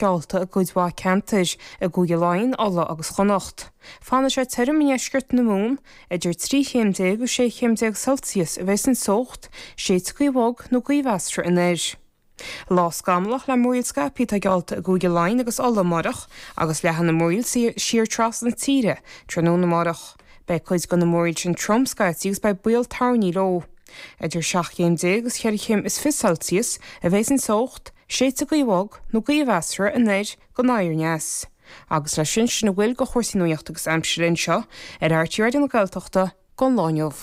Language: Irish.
Geallta i gcuid mhaith ceantar i gCúige Laighean, Uladh agus Chonnacht. Fanfaidh sé tirim i ndeisceart na Mumhan, idir 13 chéim agus 16 chéim Celsius a bheas an teocht, séidfidh gaoth bhog nó gaoth mheasartha anoir. Lá scamallach le múraíl scaipthe atá geallta i gCúige Laighean agus Uladh amárach agus leathfaidh na múraíl siar trasna na tíre tráthnóna amárach. Beidh cuid de na múraíl sin trom scaití agus beidh baol toirní leo. Idir 17 chéim agus 24 chéim Celsius a bheas an teocht, Séidfidh gaoth bhog nó gaoth mheasartha anoir go oir-aneas. Agus leis sin, sin a bhfuil de chúrsaí nuachta agus aimsire anseo ar RTÉ Raidió na Gaeltachta don lá inniu.